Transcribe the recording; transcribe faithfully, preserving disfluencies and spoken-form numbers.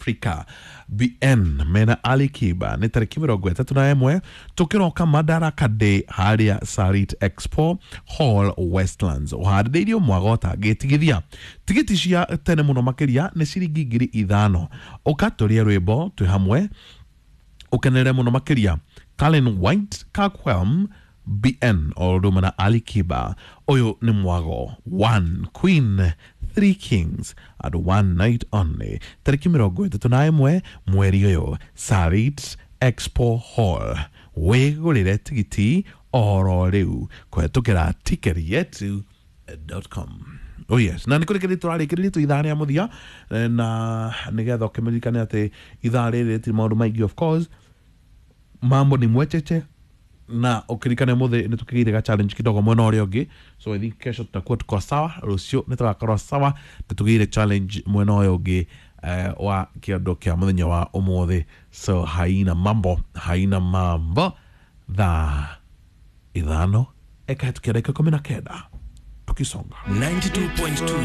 Africa B N mena Ali Kiba nĩ tarĩki mĩrongo ĩtatũ na ĩmwe tũkĩroka Madaraka Day harĩa Sarit Expo Hall, Westlands, ũharĩrĩirio Mwagota gĩtigithia. Tigiti cia tene mũno makĩria nĩ ciringi ngiri ithano. Ũka tũrĩe rwĩmbo twĩ hamwe, ũkenere mũno makĩria Kalen White, Kakwelm, B N o ũndũ ũmwe na Ali Kiba. Ũyũ nĩ mwago, one queen, three kings and one night only, tarĩki mĩrongo ĩtatũ na ĩmwe mweri ũyũ, Sarit Expo Hall. Wĩgũrĩre tigiti oro rĩu kũhetũkĩra ticket yetu dot com. Oh yes, na nä kå rä kä rä tå rarä kä rä rie tå ithaa rä a må thia, na nä getha å kä mä ririkane atä ithaa rä rä rä maå ndå maingä. Of course, mambo ni mwecheche, na ukirikane muthi nä tå ga challenge kidogo mwena å rä a å ngä, so I think kesho tutakuwa tuko sawa. Rũciũ nĩ tũgakorwo sawa, nĩ tũgĩire challenge mwena ũyũ ũngĩ eh, wa kĩondo kĩa mũthenya wa ũmũthĩ. So haina mambo, haina mambo. Thaa ithano ĩkahĩtũkia ndagĩka ikũmi na kenda, tukisonga. ninety-two point two.